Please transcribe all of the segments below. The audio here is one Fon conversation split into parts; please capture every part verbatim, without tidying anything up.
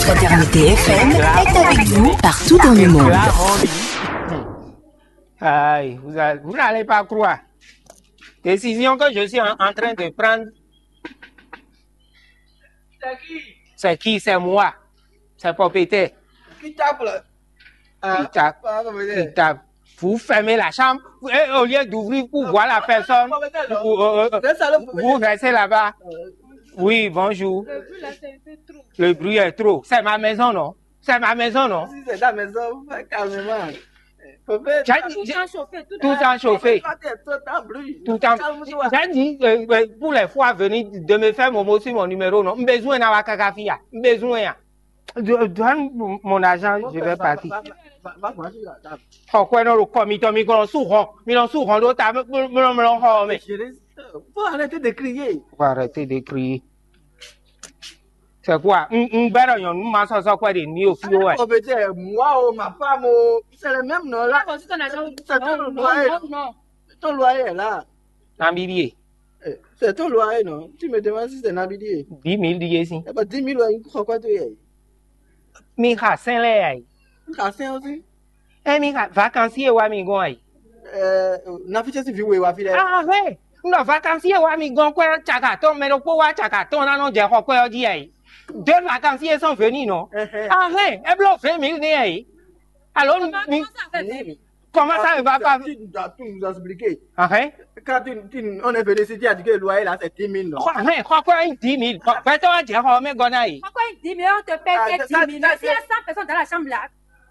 Fraternité F M est avec vous partout dans le monde. Aïe, vous, a- vous n'allez pas croire. Décision que je suis en, en train de prendre, c'est qui? C'est moi. C'est propriétaire. Qui tape là? Ah, qui tape? Pas propriétaire. Qui tape? Vous fermez la chambre et au lieu d'ouvrir pour voir la personne, vous, euh, euh, vous restez là-bas. Oui, bonjour. Le bruit là, c'est un peu trop. Le bruit est trop. C'est ma maison, non? C'est ma maison, non? Si c'est ta maison, fais calmement. J'ai dit, tout le temps chauffé, tout le temps chauffé. Tout le temps. J'ai dit, euh, euh, pour les fois à venir, de me faire mon mot sur mon numéro, non? Besoin n'a pas kaka fia. Besoin. Donne mon argent, je vais partir. Xɔ kwɛ nɔ ɖo kɔ mitɔn, mi kɔn sú hɔn, mi nɔ sú hɔn ɖó ta mlɔmlɔ xɔ mɛ. Faut arrêter de crier. Faut arrêter de crier. C'est quoi? Un un bɛrɛ nyɔnu ma sɔsɔ kwɛ ɖe ni o fi o wɛ. Moi, oh, ma femme, oh, c'est le même nom là. C'est ton loyer. Ton loyer là. Nabíbí e. Eh, c'est ton loyer, non? Tu me demandes si c'est Nabidi. Dix mille ɖíe sín. Eh ben, dix mille, ouais, une fois quoi, tu es. Mi xa sɛn lɛ ya yi. Une fois sɛn aussi. Ɛ mi xa vacances e wa mi gɔn ayi. Eh, na fi si vi we wa fi lɛ. Ah ouais. Non, vacances e wa mi gɔn kwɛ caka tɔn, mɛ ɖokpó wa caka tɔn na nɔ jɛ xɔ kwɛ ɔ jí ayi. Deux vacances sont venus, non? Ah ouais. E blo vingt mille ne ayi. Alors mi. Comment ça, ça fait vingt mille? Comment ça, il va pas? Tu dois tout nous expliquer. Ah hein. Quand tu, tu, on est venu ici, tu as dit que le loyer là, c'est dix mille, non? Xɔ hɛn xɔ kɔ yin dix mille. Bɛtɔ wa jɛ xɔ mɛ gɔna yi. Pourquoi il dit, mais on te paye que dix mille? Mais s'il y a cent personnes dans la chambre là,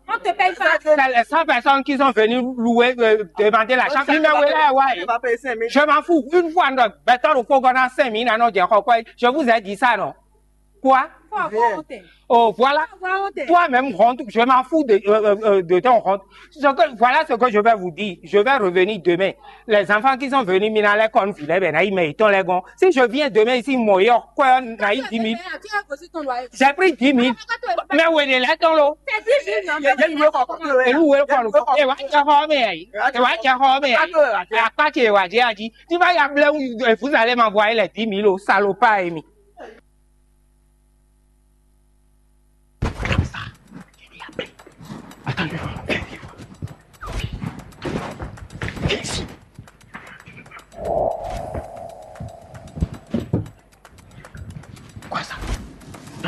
on te paye pas. C'est les cent personnes qui sont venues louer, euh, demander la chambre. Numéro là, ouais. Je m'en fous. Une fois, non, bɛtɔ ro ko gɔna cinq mille, non, jɛ xɔ kɔ. Je vous ai dit ça, non? Quoi? Oh, voilà. Toi-même, rentre. Je m'en fous de, euh, euh, euh, de ton rentre. Ce que, voilà ce que je vais vous dire. Je vais revenir demain. Les enfants qui sont venus, mina les cornes, filet, ben, naï, mais ils t'ont les gons. Si je viens demain ici, moi, quoi, naï, dix mille. J'ai pris dix mille. Mais où est les ton lot? C'est dix mille, non? Et où est le corps? Et ouais, tu as formé, hein? Et ouais, tu as formé, hein? À quoi tu es, ouais, j'ai dit, tu vas y appeler, vous allez m'envoyer les dix mille au salopard, Amy.